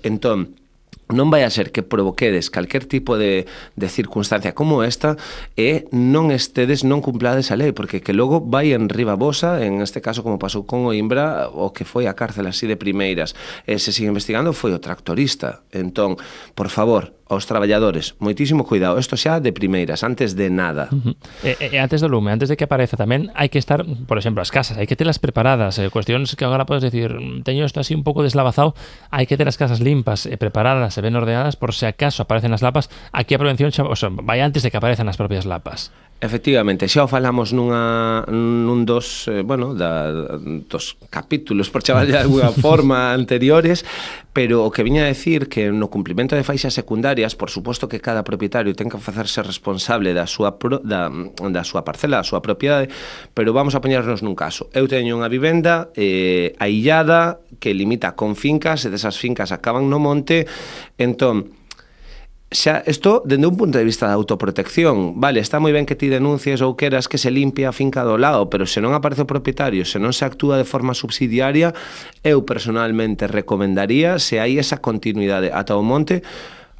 Entón, non vai a ser que provoquedes calquer tipo de circunstancia como esta e non cumplades a lei, porque que logo vai en riba vosa, en este caso como pasou con o Imbra, o que foi a cárcel así de primeiras, se sigue investigando foi o tractorista. Entón, por favor, aos traballadores, moitísimo cuidado, isto xa de primeiras, antes de nada. E antes do lume, antes de que apareza tamén, hai que estar, por exemplo, as casas, hai que telas preparadas, cuestións que agora podes decir, teño isto así un pouco deslavazado, hai que ter as casas limpas e preparadas e ben ordenadas por se acaso aparecen as lapas. Aquí a prevención vai antes de que aparezan as propias lapas. Efectivamente, xa o falamos nun dos capítulos, por chamar de alguna forma, anteriores, pero o que viña a decir que no cumplimento de faixas secundarias, por suposto que cada propietario ten que facerse responsable da súa parcela, da súa propiedade, pero vamos a poñernos nun caso. Eu teño unha vivenda aillada que limita con fincas, e desas fincas acaban no monte, entón, xa, isto, dende un punto de vista da autoprotección, vale, está moi ben que ti denuncies ou queras que se limpie a finca do lado, pero se non aparece o propietario, se non se actúa de forma subsidiaria, eu personalmente recomendaría, se hai esa continuidade ata o monte,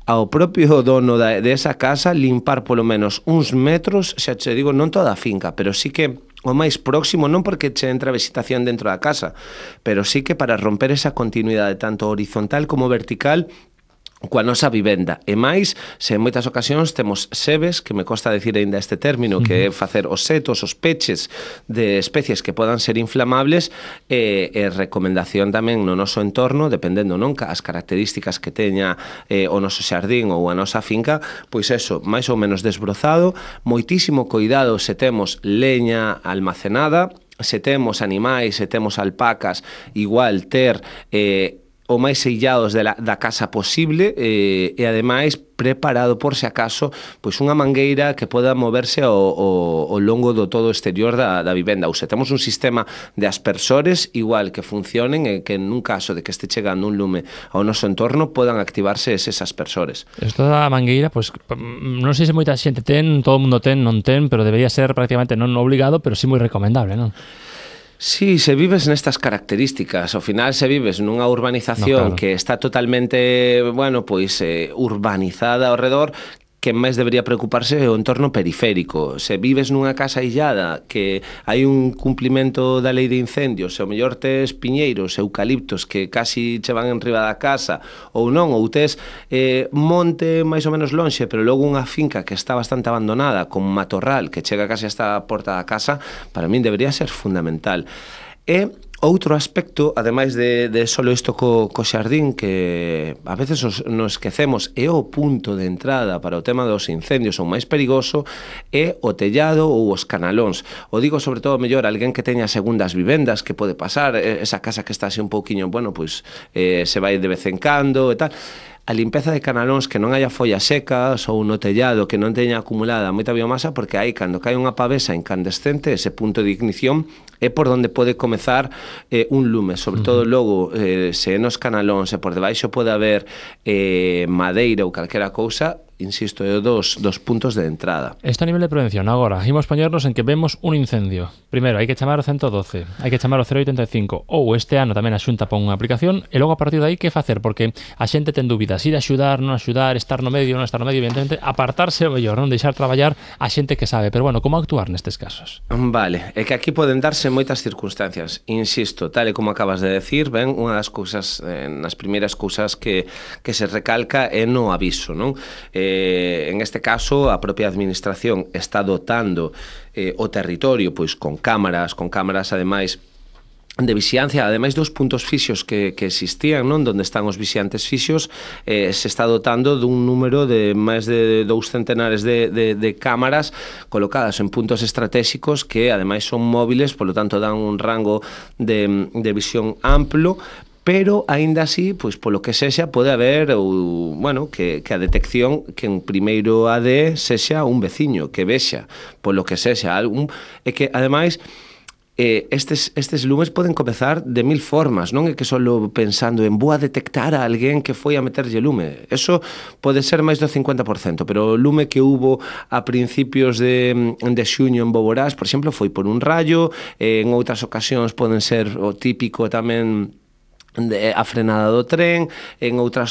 ao propio dono de esa casa limpar polo menos uns metros, xa che digo, non toda a finca, pero sí que o máis próximo, non porque che entra vegetación dentro da casa, pero sí que para romper esa continuidade tanto horizontal como vertical coa nosa vivenda. E máis, se en moitas ocasións temos sebes, que me costa decir aínda este término, que é facer os setos, os peches de especies que podan ser inflamables, e recomendación tamén no noso entorno, dependendo non as características que teña o noso xardín ou a nosa finca, pois eso, máis ou menos desbrozado, moitísimo cuidado se temos leña almacenada, se temos animais, se temos alpacas, igual ter o máis sellados da casa posible e ademais preparado por se acaso pois unha mangueira que poda moverse ao longo do todo exterior da vivenda, ou se temos un sistema de aspersores igual que funcionen e que nun caso de que este chegando un lume ao noso entorno podan activarse eses aspersores. Isto da mangueira, pois non sei se moita xente ten, todo o mundo ten, non ten, pero debería ser prácticamente non obligado, pero sí moi recomendable, non? Sí, se vives nestas características, ao final se vives nunha urbanización que está totalmente, urbanizada ao redor, que máis debería preocuparse é o entorno periférico. Se vives nunha casa illada que hai un cumplimento da lei de incendios, se ao mellor tes piñeiros, eucaliptos que casi che van enriba da casa, ou non, ou tes monte máis ou menos lonxe, pero logo unha finca que está bastante abandonada, con matorral que chega casi hasta a porta da casa, para min debería ser fundamental. E outro aspecto, ademais de solo isto co xardín, que a veces nos esquecemos, é o punto de entrada para o tema dos incendios, o máis perigoso, é o tellado ou os canalóns. O digo sobre todo mellor alguén que teña segundas vivendas, que pode pasar, esa casa que está así un pouquiño, se vai de vez en cando e tal. A limpeza de canalóns, que non haya follas secas ou no tellado que non teña acumulada moita biomasa, porque aí cando cae unha pavesa incandescente, ese punto de ignición é por onde pode comezar un lume, sobre todo logo se nos canalóns e por debaixo pode haber madeira ou calquera cousa, insisto, é dos puntos de entrada. Isto a nivel de prevención. Agora, imos poñernos en que vemos un incendio. Primeiro, hai que chamar o 112, hai que chamar o 085, ou este ano tamén a Xunta pon unha aplicación, e logo a partir de aí que facer? Porque a xente ten dúbidas, ir a axudar, non axudar, estar no medio, non estar no medio, evidentemente, apartarse o mellor, non deixar traballar a xente que sabe. Pero bueno, como actuar nestes casos? Vale, é que aquí poden darse moitas circunstancias. Insisto, tal e como acabas de decir, ben, unha das cousas, nas primeiras cousas que se recalca é no aviso, non? En este caso, a propia administración está dotando o territorio pois con cámaras ademais de vixiancia, ademais dos puntos fixos que existían, non, donde están os vixiantes fixos, se está dotando dun número de máis de 2 centenares de cámaras colocadas en puntos estratégicos que ademais son móviles, polo tanto dan un rango de visión amplo, pero aínda así, pois polo que sexa, pode haber que a detección que en primeiro AD sexa un veciño que vexa, polo que sexa é que ademais estes lumes poden comezar de mil formas, non é que solo pensando en vou a detectar a alguén que foi a meterlle lume. Eso pode ser máis do 50%, pero o lume que hubo a principios de xuño en Boborás, por exemplo, foi por un rayo, en outras ocasións poden ser o típico tamén a frenada do tren, en outras